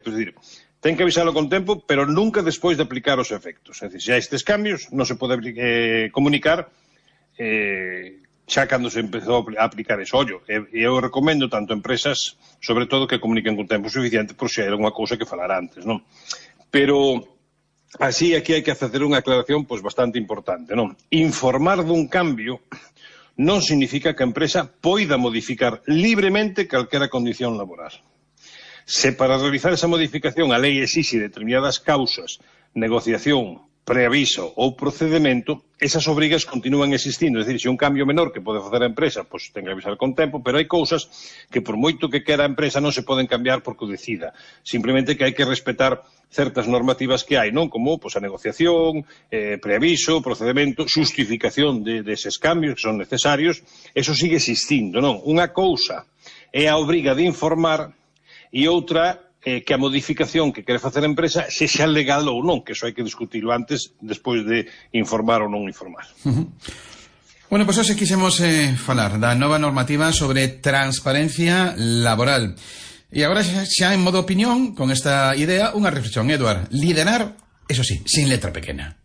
efectos. É dicir, ten que avisalo con tempo, pero nunca despois de aplicar os efectos. É dicir, se hai estes cambios, non se pode comunicar xa cando se empezou a aplicar eso. Ollo, eu recomendo tanto a empresas, sobre todo, que comuniquen con tempo suficiente por se era unha cousa que falar antes, non? Pero así aquí hai que facer unha aclaración pois bastante importante, non? Informar dun cambio non significa que a empresa poida modificar libremente calquera condición laboral. Se para realizar esa modificación a lei exixe determinadas causas, negociación, preaviso ou procedemento, esas obrigas continúan existindo. É dicir, se un cambio menor que pode facer a empresa, pois ten que avisar con tempo, pero hai cousas que por moito que quera a empresa non se poden cambiar porque o decida. Simplemente que hai que respetar certas normativas que hai, non? Como pois, a negociación, preaviso, procedemento, xustificación deses cambios que son necesarios, eso sigue existindo, non? Unha cousa é a obriga de informar e outra que a modificación que quere facer a empresa sexa legal ou non, que eso hai que discutirlo antes, despois de informar ou non informar. Bueno, pois hoxe quixemos falar da nova normativa sobre transparencia laboral. E agora xa en modo opinión, con esta idea, unha reflexión, Eduard. Liderar, eso sí, sin letra pequena.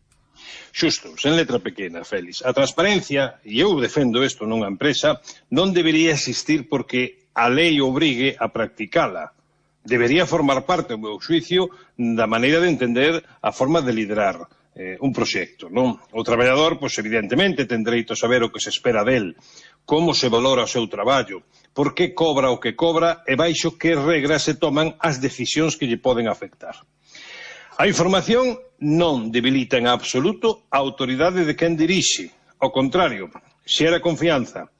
Xusto, sen letra pequena, Félix. A transparencia, e eu defendo isto nunha empresa, non debería existir porque a lei obrigue a practicala. Debería formar parte, ao meu xuicio, da maneira de entender a forma de liderar un proxecto, non? O traballador, pois, evidentemente, ten dereito a saber o que se espera del, como se valora o seu traballo, por que cobra o que cobra e baixo que regras se toman as decisións que lle poden afectar. A información non debilita en absoluto a autoridade de quen dirixe. Ao contrario, xera confianza,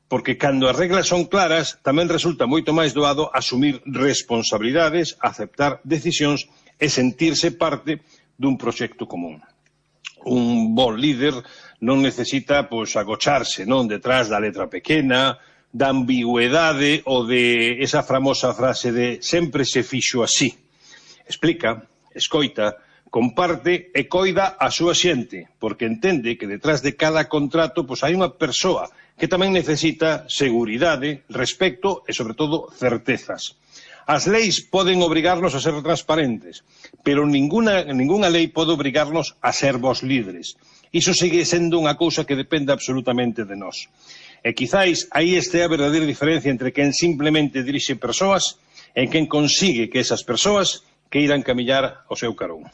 porque cando as reglas son claras tamén resulta moito máis doado asumir responsabilidades, aceptar decisións e sentirse parte dun proxecto común. Un bon líder non necesita pois, agocharse non detrás da letra pequena, da ambigüedade ou de esa famosa frase de sempre se fixo así. Explica, escoita, comparte e coida a súa xente, porque entende que detrás de cada contrato pois, hai unha persoa que tamén necesita seguridade, respecto e, sobre todo, certezas. As leis poden obrigarnos a ser transparentes, pero ningunha lei pode obrigarnos a ser vos líderes. Iso segue sendo unha cousa que depende absolutamente de nós. E quizáis aí este a verdadeira diferencia entre quen simplemente dirixe persoas e quen consigue que esas persoas que irán camiñar ao seu carón.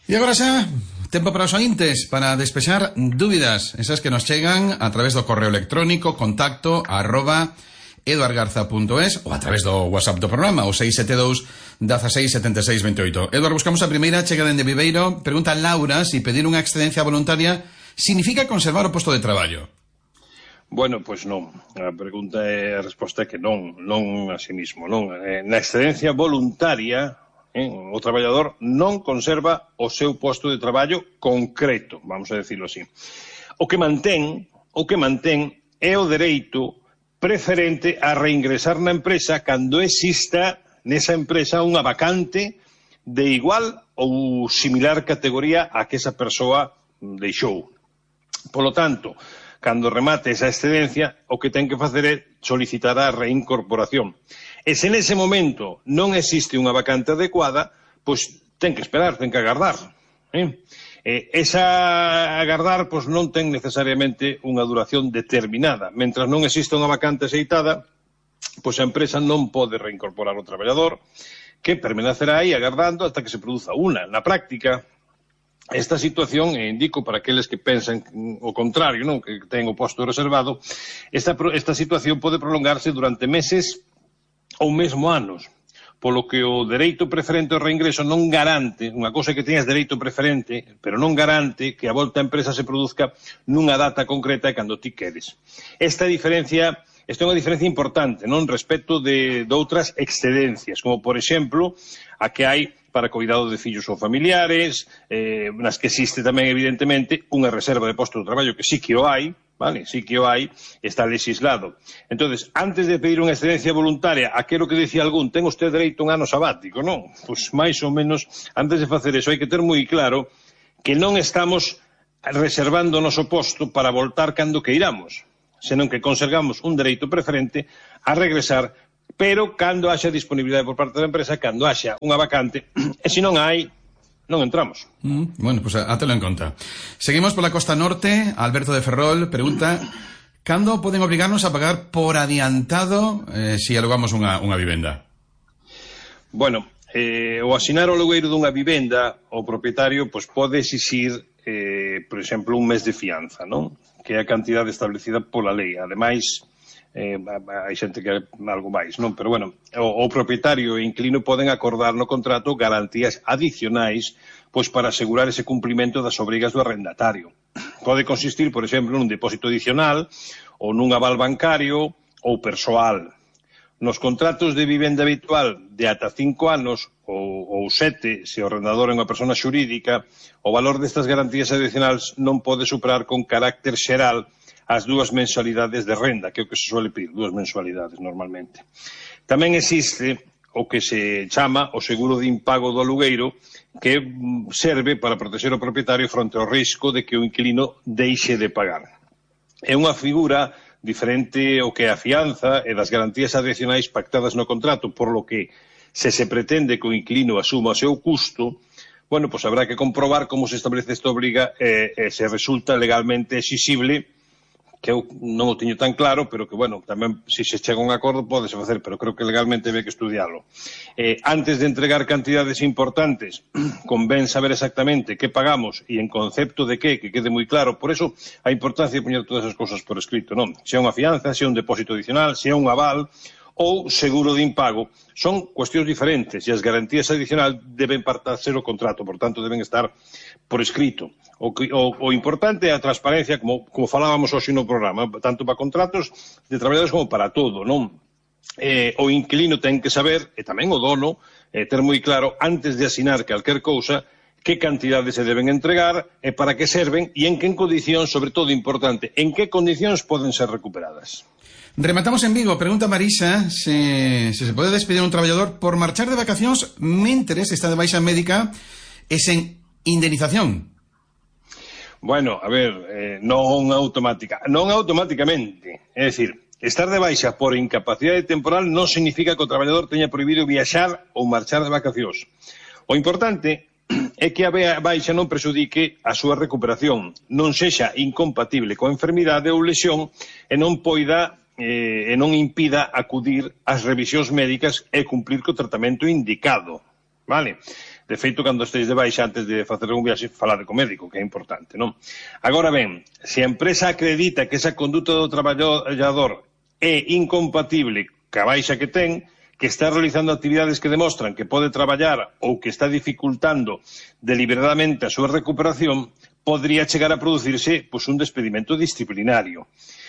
E agora xa, tempo para os ointes, para despexar dúbidas, esas que nos chegan a través do correo electrónico contacto@eduardgarza.es ou a través do WhatsApp do programa, o 672 16 76 28. Eduard, buscamos a primeira, chega dende Viveiro. Pregunta Laura si pedir unha excedencia voluntaria significa conservar o posto de traballo. Bueno, pois non. A resposta é que non así mismo, non. Na excedencia voluntaria, o traballador non conserva o seu posto de traballo concreto, vamos a decirlo así. O que mantén é o dereito preferente a reingresar na empresa cando exista nesa empresa unha vacante de igual ou similar categoría a que esa persoa deixou. Polo tanto, cando remate esa excedencia, o que ten que facer é solicitar a reincorporación. E se nese momento non existe unha vacante adecuada, pois ten que esperar, ten que agardar. Esa agardar pois non ten necesariamente unha duración determinada. Mentras non exista unha vacante aceitada, pois a empresa non pode reincorporar o traballador, que permanecerá aí agardando hasta que se produza unha. Na práctica, esta situación, e indico para aqueles que pensan o contrario, non, que ten o posto reservado, esta situación pode prolongarse durante meses ou mesmo anos, polo que o dereito preferente ao reingreso non garante, unha cousa que teñas dereito preferente, pero non garante que a volta á empresa se produzca nunha data concreta e cando ti queres. Esta é unha diferencia importante, non, respecto de outras excedencias, como por exemplo a que hai para cuidado de fillos ou familiares, nas que existe tamén evidentemente unha reserva de posto de traballo que sí que o hai, vale? Sí que o hai, está legislado. Entonces, antes de pedir unha excedencia voluntaria, aquilo que dicía algún, ten usted dereito a un ano sabático, non? Pois máis ou menos, antes de facer eso, hai que ter moi claro que non estamos reservando o noso posto para voltar cando queiramos, senón que conservamos un dereito preferente a regresar pero cando haxa disponibilidade por parte da empresa, cando haxa unha vacante, e se non hai, non entramos. Bueno, pues átelo en conta. Seguimos pola costa norte. Alberto de Ferrol pregunta: cando poden obrigarnos a pagar por adiantado se alugamos unha vivenda? Bueno, o asinar o alugueiro dunha vivenda, o propietario pode exixir, por exemplo, un mes de fianza, non? Que é a cantidade establecida pola lei. Ademais, hai xente que é algo máis, non? Pero, bueno, o propietario e inquilino poden acordar no contrato garantías adicionais para asegurar ese cumprimento das obrigas do arrendatario. Pode consistir, por exemplo, nun depósito adicional ou nun aval bancario ou persoal. Nos contratos de vivenda habitual de ata 5 anos ou 7, se o arrendador é unha persona xurídica, o valor destas garantías adicionais non pode superar con carácter xeral as 2 mensualidades de renda, que é o que se suele pedir, 2 mensualidades normalmente. Tamén existe o que se chama o seguro de impago do alugueiro, que serve para proteger o propietario fronte ao risco de que o inquilino deixe de pagar. É unha figura diferente ao que é a fianza e das garantías adicionais pactadas no contrato, por lo que, se pretende que o inquilino asuma o seu custo, bueno, habrá que comprobar como se establece esta obriga e se resulta legalmente exixible, que eu non o teño tan claro, pero que, bueno, tamén, se chega a un acordo, pódese facer, pero creo que legalmente hai que estudiarlo. Antes de entregar cantidades importantes, convén saber exactamente que pagamos e en concepto de que quede moi claro. Por eso, a importancia de poñer todas as cousas por escrito, non? Se é unha fianza, se é un depósito adicional, se é un aval ou seguro de impago, son cuestións diferentes e as garantías adicionais deben partarse do contrato, por tanto, deben estar por escrito. O importante é a transparencia, como falábamos hoxe no programa, tanto para contratos de traballadores como para todo, non? O inquilino ten que saber, e tamén o dono, ter moi claro, antes de asinar calquer cousa, que cantidades se deben entregar, e para que serven, e en que condicións, sobre todo importante, en que condicións poden ser recuperadas. Rematamos en Vigo. Pregunta Marisa se pode despedir un traballador por marchar de vacacións mentres está de baixa médica e sen indemnización. Bueno, a ver, non automáticamente. É dicir, estar de baixa por incapacidade temporal non significa que o traballador teña prohibido viaxar ou marchar de vacacións. O importante é que a baixa non prexudique a súa recuperación, non sexa incompatible coa enfermidade ou lesión e non impida acudir ás revisións médicas e cumplir co tratamento indicado, vale? De feito, cando estéis de baixa, antes de facer un viaxe, falade co médico, que é importante, non? Agora ben, se a empresa acredita que esa conduta do traballador é incompatible ca baixa que ten, que está realizando actividades que demostran que pode traballar ou que está dificultando deliberadamente a súa recuperación, podría chegar a producirse un despedimento disciplinario.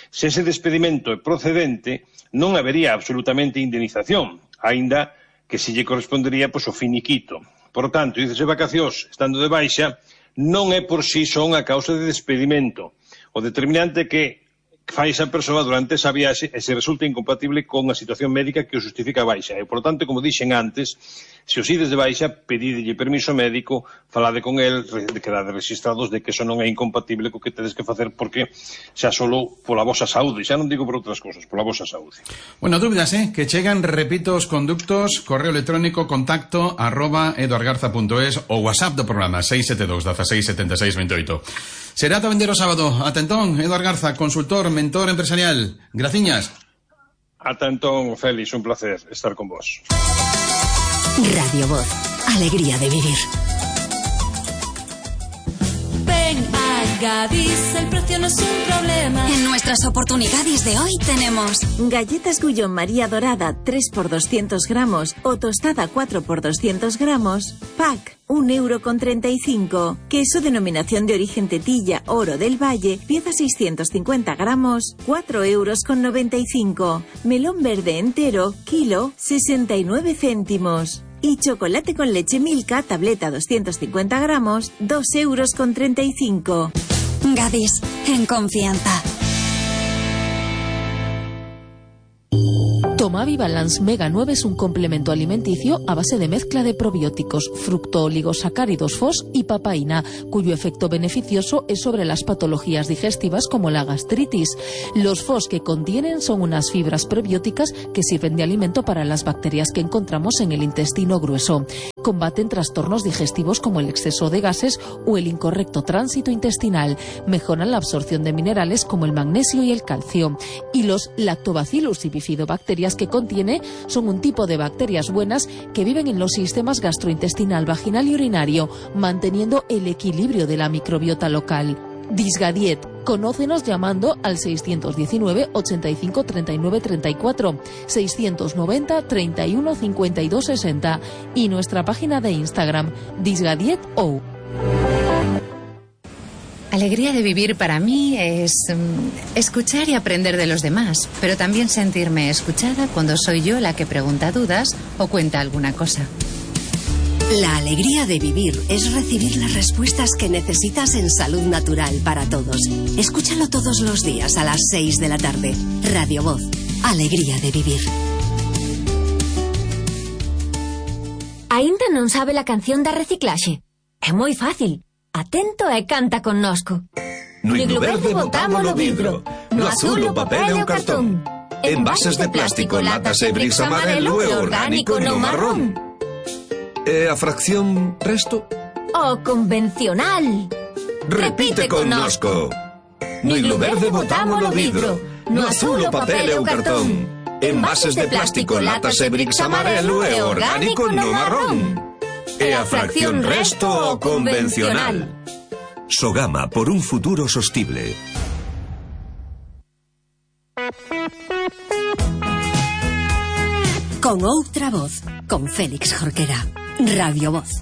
Se ese despedimento é procedente, non habería absolutamente indemnización, aínda que se lle correspondería o finiquito. Por tanto, irse vacacións estando de baixa non é por si só unha causa de despedimento. O determinante é que fai esa persoa durante esa viaxe e se resulta incompatible con a situación médica que o justifica a baixa. E, por tanto, como dixen antes, se os ides de baixa, pedidelle permiso médico, falade con el, quedade registrados de que eso non é incompatible co que tedes que facer, porque xa solo pola vosa saúde, xa non digo por outras cousas, pola vosa saúde. Bueno, dúbidas, que chegan, repito, os conductos, correo electrónico, contacto, @eduardgarza.es ou WhatsApp do programa, 672 16 76 28. Será tamén o sábado. Ata entón, Eduard Garza, consultor, mentor empresarial. Graciñas. Ata entón, Félix, un placer estar con vos. Radio Voz, alegría de vivir. Ven a Gadis, el precio no es un problema. En nuestras oportunidades de hoy tenemos galletas Gullón María Dorada 3x200 gramos o tostada 4x200 gramos, pack 1,35 €. Queso denominación de origen Tetilla, Oro del Valle, pieza 650 gramos, 4,95 €. Melón verde entero, kilo, 69 céntimos. Y chocolate con leche Milka, tableta 250 gramos, 2,35 €. Gadis, en confianza. Tomavi Balance Mega 9 es un complemento alimenticio a base de mezcla de probióticos, fructooligosacáridos FOS y papaína, cuyo efecto beneficioso es sobre las patologías digestivas como la gastritis. Los FOS que contienen son unas fibras prebióticas que sirven de alimento para las bacterias que encontramos en el intestino grueso. Combaten trastornos digestivos como el exceso de gases o el incorrecto tránsito intestinal. Mejoran la absorción de minerales como el magnesio y el calcio. Y los lactobacillus y bifidobacterias que contiene son un tipo de bacterias buenas que viven en los sistemas gastrointestinal, vaginal y urinario, manteniendo el equilibrio de la microbiota local. Disgadiet. Conócenos llamando al 619 85 39 34, 690 31 52 60 y nuestra página de Instagram, disgadietou. Alegría de vivir para mí es escuchar y aprender de los demás, pero también sentirme escuchada cuando soy yo la que pregunta dudas o cuenta alguna cosa. La alegría de vivir es recibir las respuestas que necesitas en Salud Natural para todos. Escúchalo todos los días a las 6 de la tarde. Radio Voz. Alegría de vivir. Aínda non sabe la canción da reciclaxe? É moi fácil. Atento e canta connosco. No iglo verde botámolo vidro, no azul o papel e o cartón. Envases de plástico, latas e bricks amarelo e orgánico no marrón. E a fracción resto? O convencional. Repite connosco. No iglo verde botámolo vidro, no azul o papel e o cartón. Envases de plástico, latas e bricks amarelo e orgánico no marrón. E a fracción resto o convencional. Sogama, por un futuro sostible. Con outra voz, con Félix Jorquera. Radio Voz.